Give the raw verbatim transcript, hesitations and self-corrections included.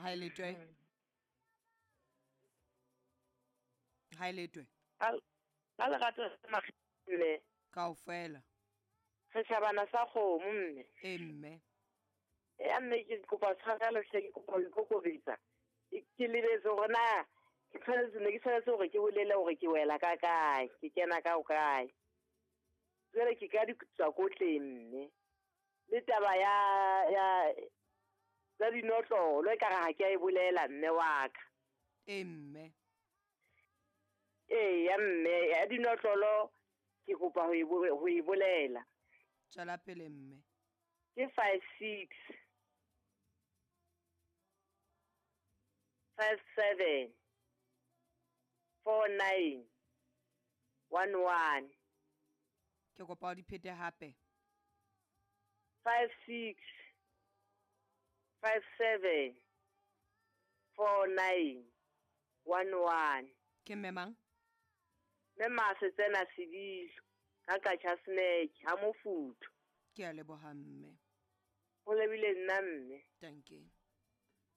Ha e letwe. Ha e letwe. Ka lerato mme. Kaofela. Setjhabana sa kgomo mme. E mme. Ya mme ke kopa tshwarelo hle, ke kopa ho ikokobetsa. Ke lebetse hore na ke tshwanetse, ne ke tshwanetse hore ke bolele hore ke wela ka kae, ke kena ka ho kae. Jwale ke ka di tswa kotleng mme. Le taba ya ya tsa dinotlolo e kare ha ke a e bolela mme wa ka. E mme. Ee ya mme, ya dinotlolo ke kopa ho e ho e bolela. Tswela pele mme. Ke five six five seven four nine one one. Ke kopa o di phete hape. Five six five seven four nine one one. Ke mme mang? Mme Masetsena Sedilo ka Qacha's Nek ha Mofuthu. Ke a leboha mme. Ho lebile nna mme. Thank you.